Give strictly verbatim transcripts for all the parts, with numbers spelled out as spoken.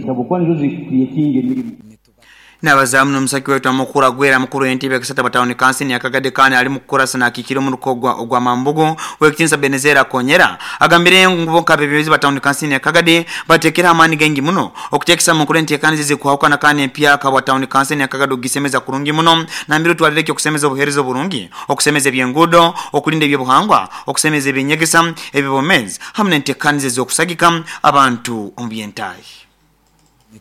Habwokuba nizo zicreatinga emirimu. Nabazamu n'omusaki waitu amukuru agwera mukuru w'entebe ekisata batawuni kansi ya Kagadi, kandi ali mukukurasa nakiikira omuruka ogwa ogwa Mambugu, wekitinsa Benezera Konyera, agambire ngu bo nk'abebembezi batawuni kansi ya Kagadi batekera amaani gengi muno okutekesa mukuru enteekaniza ezikuhawukana kandi empyaka bwa tawuni kansi ya Kagadi okugisemeza kurungi muno, nambire otwalire okusemeza obuheereza oburungi, okusemeza ebyenguudo, okulinda ebyobuhangwa, okusemeza ebyenyegesa, ebibomezi hamu n'enteekaniza ez'okusagika abantu omu byentaahi.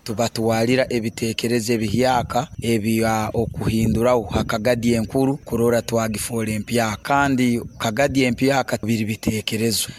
Tubatwalira ebitekerezo ebihyaka ebya okuhinduraho hakagadi enkuru kurora twagifoora empyaka, kandi kagadi empyaka biri bitekerezo.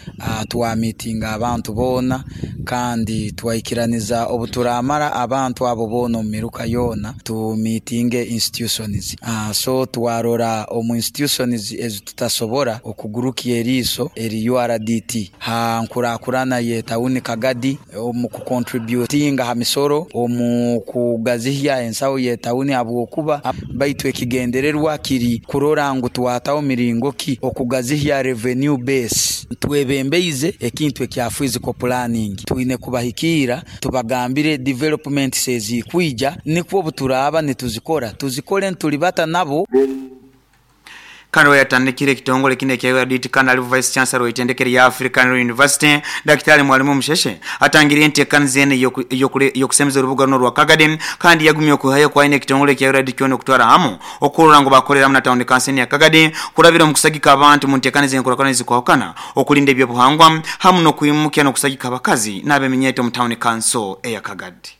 Twamitinga abantu boona kandi twaikiraniza obuturamara abantu abo boona omu miruka yoona tumitinge institutions. So twarora omu institutions ezi tutasobora okugurukya eriiso eri U R D T ha nkurakurana ye tawuni Kagadi omu kucontributinga ha misoro, omu kugazihya ensaho ye tawuni, habwokuba baitu ekigendererwa kiri kurora ngu twataho miringo ki okugazihya revenue base. Twebembeize ekintu ekya physical planning, twine kubahikiira tubagambire developments ezikwija, nikwo obuturaba nituzikora tuzikore ntulibata nabo. Kandi we yatandikire ekitongole kino ekya U R D T, kandi ali vice chancellor w'eitendekero ya African University, Daktari Mwalimu Musheshe, atangire enteekaniza eno ey'okusemeza orubuga runo rwa Kagadi, kandi yagumye okuhayo kwaine ekitongole ekya U R D T kyona okutwara hamu okurora ngu bakoreramu na tawuni kansi ya Kagadi kurabira omu kusagika abantu mu nteekaniza enkulaakulana ezikwahukana, okulinda ebyobuhangwa hamu n'okwimukya n'okusagika abakazi n'abeminyeeto mu tawuni kanso eya Kagadi.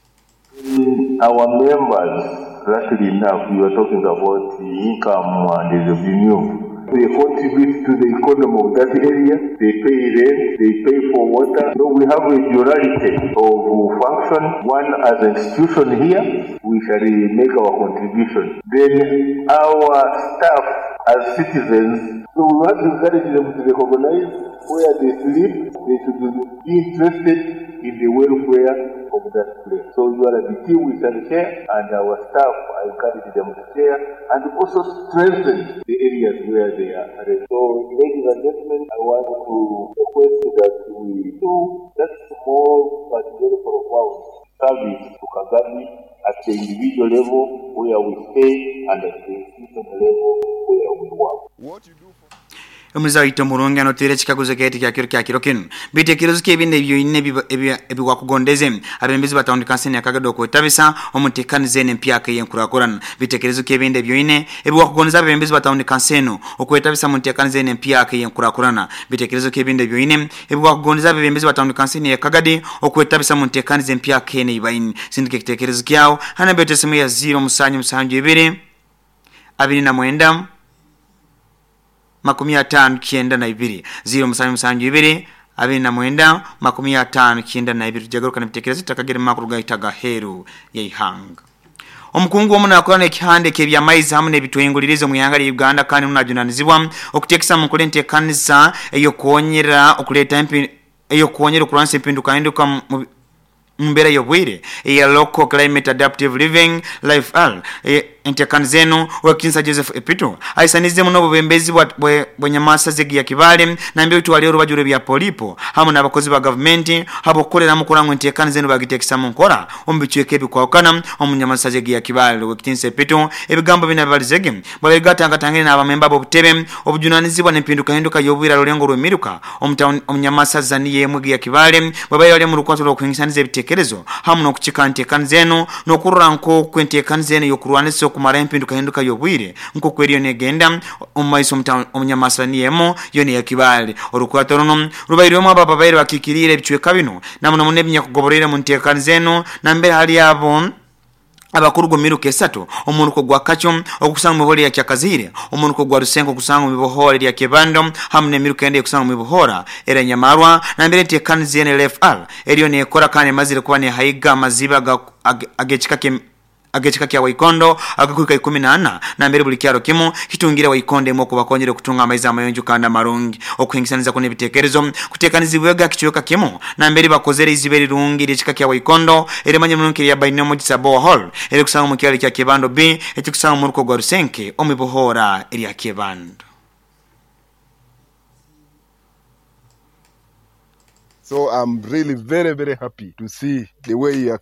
Our members, luckily enough, we were talking about the income and the revenue. They contribute to the economy of that area, they pay rent, they pay for water. So we have a duality of function. One, as an institution here, we shall make our contribution. Then our staff as citizens, so we want to encourage them to recognize where they sleep, they should be interested in the welfare of that place. So you are the team we shall share, and our staff, I encourage them to share and also strengthen the areas where they are. So, ladies and gentlemen, I want to request that we do that small but very profound service to Kagadi at the individual level where we stay and at the institutional level where we work. What you do for Omuzaito murungi anotire chikaguzo keti kya kiro kya kiro kinu bitekerezo kyebindi ebyoine ebiwakugondeze abembezi batawuni kansi ya Kagadi okwetabisa omutekanize empyaka y'enkurakurana. Bitekerezo kyebindi ebyoine ebiwakugondeza abembezi batawuni kansi eno okwetabisa omutekanize empyaka y'enkurakurana. Bitekerezo kyebindi ebyoine ebiwakugondeza abembezi batawuni kansi ya Kagadi okwetabisa omutekanize empyaka ene ibaini. Sindike kitekerezo kyao hana betesemu ya zero musanyu musanju ibiri abiri na mwenda makumi atano kyenda na ibiri zero musanju musanju ibiri abiri na mwenda makumi atano kyenda na ibiri. Tujagaruka n'ebitekerezo takagere makuru gahitaga heru y'ihanga. Omukungu omu nakorana ekihande ky'ebyamaizi hamwe n'ebitwengulirizo mu ihanga lya Uganda, kandi munajunanizibwa okuteekesa mu nkola enteekanisa ey'okwonyera okuleeta empi ey'okwonyera okulwanisa empindukahinduka mu mbeera y'obwire eya Local Climate Adaptive Living Life L. Enteekaniza eno Owekitinisa Joseph Epito aisanize muno obubembezi bwa zegi ya Kibale nambere twali orubaju rw'ebya polipo hamwe n'abakozi ba gavumenti habwokukolera mu kurangwa enteekaniza eno bagiteekesa mu nkora omu bicweka ebikwawukana omu nyamasa zegi ya Kibale. Owekitinisa Epito ebigambo bino bibalizege bwabigatangatangire n'abamemba b'obutebe obujunanizibwa n'empindukahinduka y'obwire rulengo rw'emiruka omu nyamasa zaniye emwe ya Kibale bwabaire bali mu rukwato rw'okuhingisaniza ebitekerezo hamwe n'okukika enteekaniza eno n'okurora nk'oku enteekaniza eno y'okurwanisa okumara empindukahinduka y'obwire nk'oku eriyo negenda omu maiso omu niyemo yo ya Kibale. Orukwato runo rubairwemu abo ababaire bakiikiriire ebicweka bino namuno muno ebinyakugoborere mu nteekaniza eno nambere hali abo abakuru gomiruka esatu omuruko gwa Kacho okusanga mu bihora ya Kyakazire, omuruko gwa Rusengo okusanga mu bihora ya Kebando hamwe n'emiruka ende okusanga mu bihora era Nyamarwa nambere enteekaniza eno L F R eriyo nekora kandi emazire kuba nehaiga amaziba ag'ekika agechika kya Waikondo agakuika ikumi na ana nambere buli kyaro kimu kitungira Waikondo emo kubakonyere kutunga amaizi amayonjo kandi amarungi okuhingisaniza kune bitekerezo kutekanizibwega kichweka kimu nambere bakozere iziberi rungi lyekika kya Waikondo eremanye munonke ya Bainomo Gisabo Hall eri kusanga mu kyalo kya Kebando B ekikusanga mu ruko gwa Rusenke omibohora eri ya Kebando. So I'm really very, very happy to see the way you are